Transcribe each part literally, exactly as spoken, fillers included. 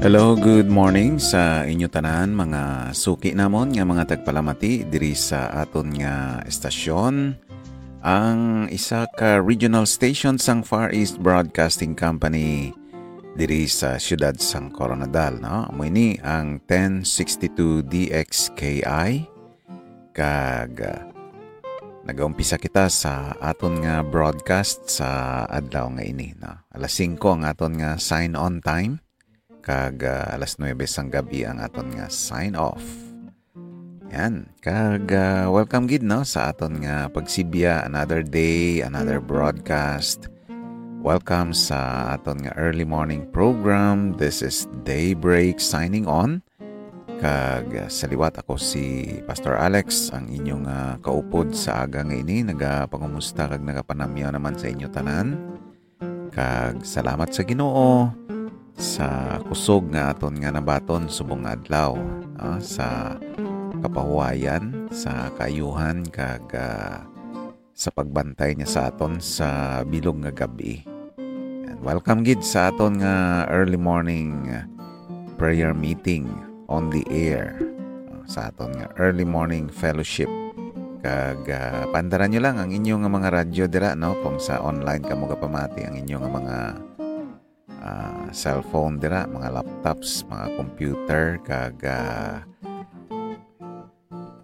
Hello, good morning sa inyo tanan, mga suki namon nga mga tagpalamati diri sa aton nga estasyon, ang isa ka regional station sang Far East Broadcasting Company diri sa siyudad sang Koronadal, no? Amo ini ang ten sixty-two D X K I, kag, ah, nagaumpisa kita sa aton nga broadcast sa adlaw nga ini, no? Alas singko ang aton nga sign on time, kag, ah, alas nuebe sang gab-i ang aton nga sign off. Yan. Kag, ah, welcome gid, no, sa aton nga pagsibya, another day, another broadcast. Welcome sa aton nga early morning program. This is Daybreak signing on. Kag, ah, sa liwat, ako si Pastor Alex, ang inyong, ah, kaupod sa aga nga ini. Nagapangumusta kag nagapanamyaw naman sa inyo tanan. Kag salamat sa Ginoo sa kusog nga aton nga nabaton subong nga adlaw, ah, sa kapahuwayan, sa kaayuhan, kag, ah, sa pagbantay niya sa aton sa bilog nga gab-i. And welcome gid sa aton nga early morning prayer meeting on the air, ah, sa aton nga early morning fellowship. Kag, ah, paandaran nyo lang ang inyo nga mga radyo dira, no? Kung sa online kamo gapamati, ang inyo nga mga, ah, cellphone dira, mga laptops, mga computer, kag, ah,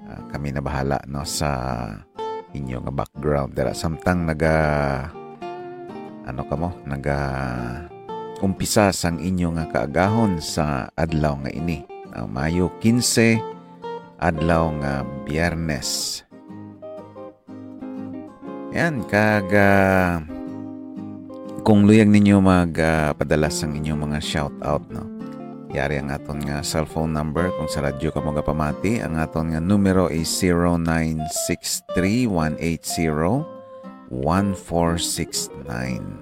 ah, kami na bahala, no, sa inyo nga background dira. Samtang naga, ano kamo, naga umpisa sang inyo nga kaagahon sa adlaw nga ini. Ah, Mayo quince, adlaw nga Biyernes. Yan, kag, ah, kung luyag ninyo mag, ah, padala sang inyong mga shout out, no? Yari ang aton nga cellphone number kung sa radyo kamo gapamati. Ang aton nga numero is zero nine six three one eight zero one four six nine.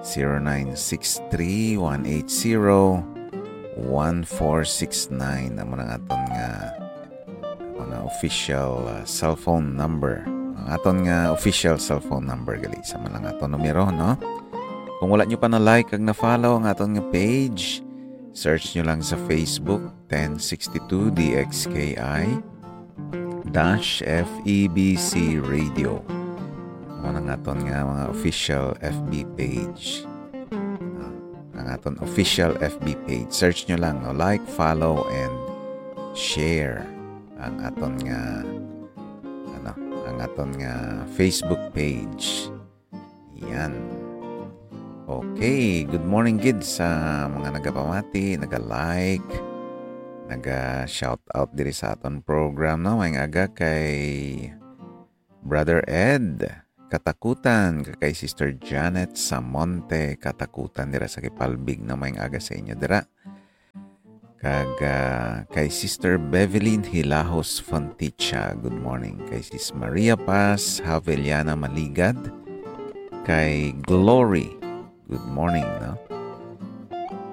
Zero nine six three one eight zero one four six nine. Amo na ang aton nga mga official, uh, cellphone number. Ang aton nga official cellphone number gali sa man lang aton numero, no? Kung wala nyo pa na-like kag na-follow ang aton nga page, search nyo lang sa Facebook, ten sixty-two D X K I dash F E B C Radio. Amo na ang aton nga mga official F B page. Ah, ang aton official F B page. Search nyo lang, no? Like, follow, and share ang aton nga, ano, ang aton nga Facebook page. Yan. Okay, good morning gid sa mga nagapamati, naga-like, naga-shout out diri sa aton program, no? Maayong aga kay Brother Ed Katakutan, kag kay Sister Janet Samonte Katakutan dira sa Kipalbig, no? Maayong aga sa inyo dira. Kag, ah, kay Sister Bevelyn Hilahos Fonticha, good morning. Kay Sis Maria Paz Haveliana Maligad, kay Glory, good morning, no?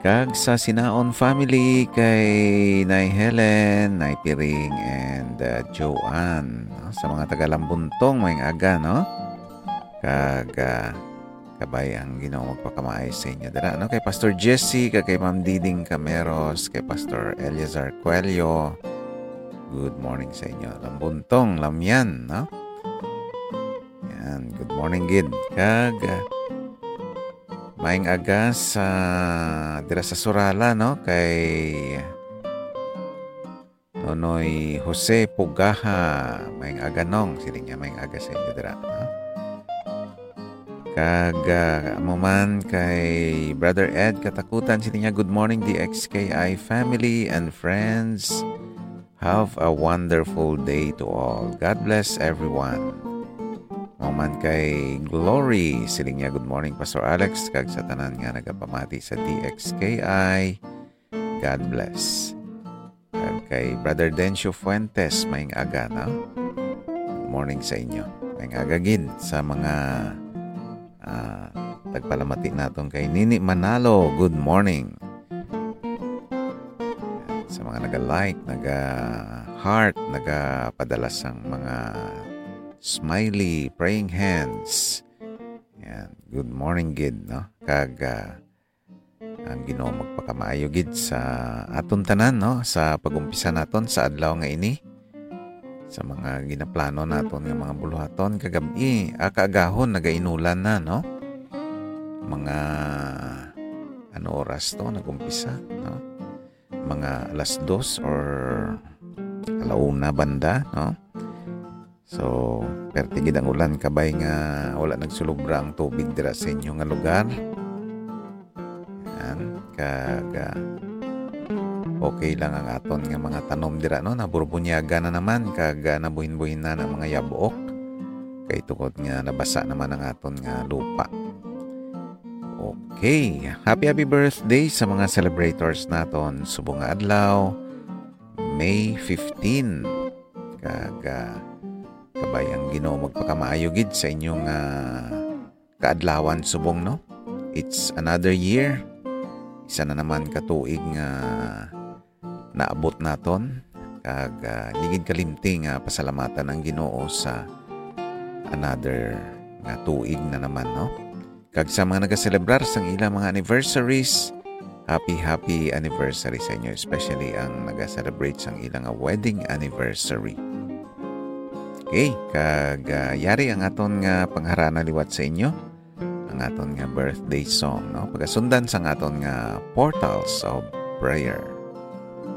Kag sa Sinaon family, kay Nay Helen, Nay Piring, and, ah, Joanne, no? Sa mga taga Lambuntong, maayong aga, no? Kag, ah, kabay ang Ginoo magpakamaay sa inyo dira, no? Kay Pastor Jesse, kag kay Ma'am Diding Cameros, kay Pastor Eleazar Coelho, good morning sa inyo. Lambuntong, Lamyan, no? Yan, good morning gid. Kag, ah, maayong aga sa, dira sa Surala, no? Kay Nonoy Jose Pugaha, maayong aga, Nong. Siling niya, maayong aga sa inyo dira, ha? Kag, ah, amo man kay Brother Ed Katakutan, siling niya, "Good morning, D X K I family and friends. Have a wonderful day to all. God bless everyone." Amo man kay Glory, siling niya, "Good morning, Pastor Alex, kag sa tanan nga nagapamati sa D X K I. God bless." Kag kay Brother Dencio Fuentes, maayong aga, no? Good morning sa inyo. Maayong aga gid sa mga, ah, tagpalamati naton kay Nini Manalo. Good morning. Sa mga naga-like, naga-heart, nagapadala sang mga smiley, praying hands. Yan. Good morning gid, no? Kag, ah, Ang Ginoo magpakamaayo gid sa aton tanan, no, sa pag-umpisa naton sa adlaw nga ini, sa mga ginaplano naton nga mga buluhaton kagab-i. Ah, kaagahon, nagainulan na, no? Mga, ano oras to nag-umpisa, no? Mga alas dos or alauna banda, no? So, perte gid ang ulan, kabay nga wala nagsulobra ang tubig dira sa inyo nga lugar. Yan, kag, ah, okay lang ang aton nga mga tanom dira, no? Naburbunyaga na naman, kag, ah, nabuhin-buhin na ang mga yabok. Kay tungod nga nabasa naman ang aton nga lupa. Okay, happy, happy birthday sa mga celebrators naton subong nga adlaw, May fifteen. Kag, ah, kabay ang Ginoo magpakamaayo gid sa inyong, ah, kaadlawan subong, no? It's another year. Isa na naman ka tuig nga naabot naton. Kag, ah, di gid kalimti nga pasalamatan ang Ginoo sa another nga tuig na naman, no? Kag sa mga nagaselebrar sang ilang mga anniversaries, happy, happy anniversary sa inyo, especially ang nagaselebrat sang ilang nga wedding anniversary. Okay, kag, ah, yari ang aton nga pangharana liwat sa inyo, ang aton nga birthday song, no? Pagasundan sang aton nga Portals of Prayer.